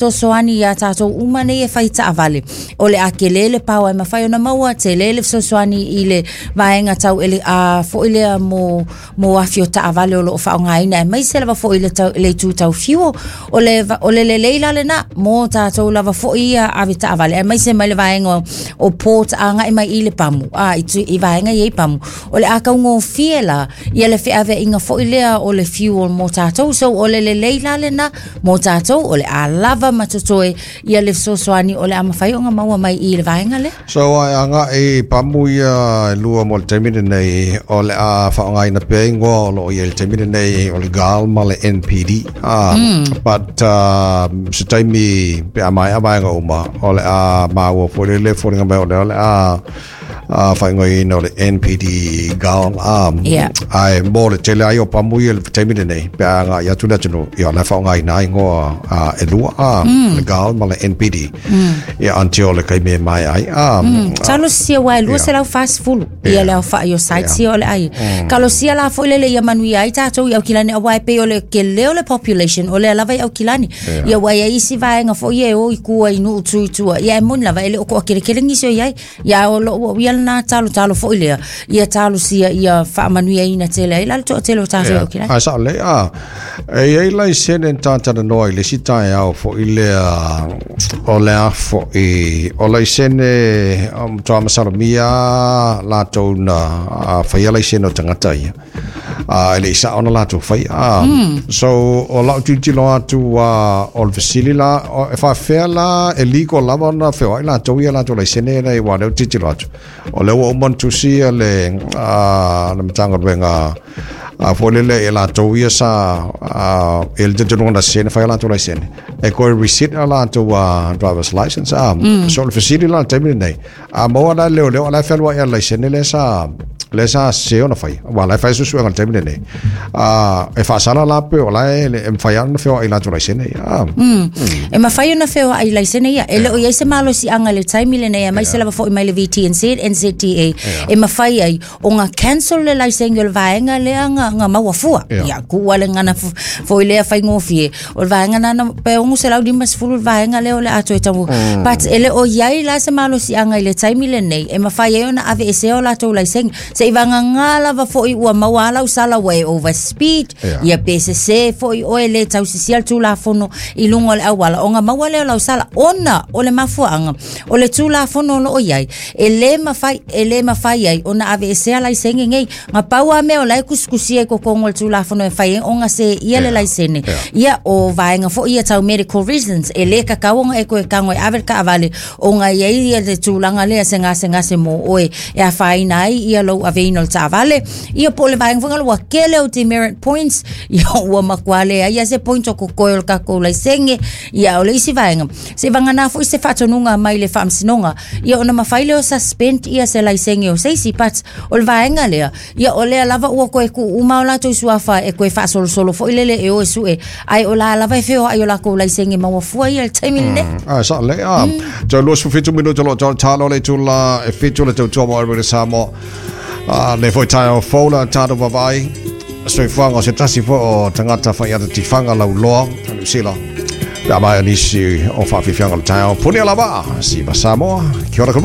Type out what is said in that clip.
Fesoasoani iā tatou uma nei e fai taavale, o le a tele le power e mafai ona maua, tele le fesoasoani i le vaega tau ele a foi lea mo mo afi o taavale o lo o faaaogaina aemaise lava foi le tau, le itu tau fuel. O le o le lelei la lena mo tatou lava foi ia ave taavale aemaise mai le vaega o, o port agai mai i le pamu, a i, i vaega i ai pamu. O le a taugofie la ia le feaveaiga foi lea o le fuel mo tatou. So o le lelei la lena mo tatou, o le a lava ma totoe ia le fesoasoani o le a mafai ona maua mai i le vaega lea. So a e agai i pamu ia e lua mo le taimi lenei, o le a faaaogaina pea igoa o lo o i ai i le taimi lenei, o le GAL ma le NPD. Ah, But se taimi pe a maea vaega uma, o le a maua foi lele foliga mai o lea o le a a faaigoaina o le NPD GAL a Yeah. ae mo le tele ai o pamu ia i le taimi lenei pe a agai atu le atunuu ia o la e faaaogaina ai igoa a e lua a le GAL ma le NPD ia until le taimi e maea ai a Talosia ua e 240 ia le aofai o sites ia o le ai. Talosia la foi lele ia manuia ai tatou i Aukilani aua e pei o le tele o le population o lea lava i Aukilani. Ia ua i ai isi vaega foi ia e o i tua i nuu tu i tua. Ia e moni lava e le o toateletele nisi o i ai. Ia o lou au ia lena talotalo foi lea, ia talosia ia faamanuiaina tele ai la le toatele o tatou yeah. i Ae sao lelei, a. E i ai laisene na talanoa i le isi taeao foi lea, o le a foi, o laisene o matua masalomia latou na faia laisene o tagata ia. A e le i sao ona latou faia. A, So, o lau tilotilo atu a, o le fesili la, o, e faafefea la e legal lava ona feoai latou ia latou laisene nei, aua o lea ou te tilotilo atu, o lea ua uma ona tusi ia le, a, le Matagaluega a foi lele ia latou ia sa a, e le talitonuga na sese na fai a latou laisene e toe resit a latou a driver's license a so o le fesili la i le taimi lenei A maua la e leoleo o la e fealuai i le laisene lea sa lea sa sese ona fai aua o la e fai suesuega i le taimi lenei. A e faasala la pe o la e e mafai lava ona feoai i latou laisene ia. A. E mafai ona feoai i laisene ia. E le o i ai se malosiaga i le taimi lenei aemaise lava foi mai le VTNZ, NZTA, e mafai ai ona cancel le laisene o le vaega lea na, na maua fua. Ia. Ia, kuua le gagana foi lea faigofie. O le vaega na, na pe 650 le vaega lea o le a toe tau. But e le o i ai la se malosiaga i le taimi lenei e mafai ai ona aveesea o latou laisene. Seiavagana lava foi ua maua a lau sala ua e overspeed, Ia. ia pe sese foi oe le tausisia le Tulafono i luga o le auala ona maua lea o lau sala ona o le mafuaaga o le Tulafono o lo o i ai e le mafai e le mafai ai ona aveesea laisene nei. Na pau lava mea o la e tusitusia i totonu o le Tulafono e mafai ai ona seia le laisene, ia o vaega foi ia tau medical reasons, e le tatau ona e toe tago e ave le taavale ona e i ai ia le tulaga lea se gasegase mo oe e afaina ai ia lou aveina o le taavale, ia po o le vaega foi lea ua tele ou demerit points, ia ua matua leai lava se point o totoe o le tatou laisene. Ia o le isi vaega, seivagana foi se faatonuga mai le Faamasinoga, ia ona mafai lea o suspend ia se laisene o se isi, but o le vaega lea, ia o lea lava ua toe tuu uma o latou suafa e toe faasolosolo foi lele e o e sue, ae o la lava e feoai o latou laisene maua fua ia i le taimi lenei. Ah, sa le a. Tau 27 minuta lo tau talo le tula e fitu le tautua mo Radio Samoa. Ah, le foi taeao fou la tatou vaavaai. Soifuaga o se tasi foi o tagata faiata tifaga lauloa o Niu Sila. Pe a maea nisi o faafiafiaga o le taeao. Punia lava, siva Samoa. Kia ora ka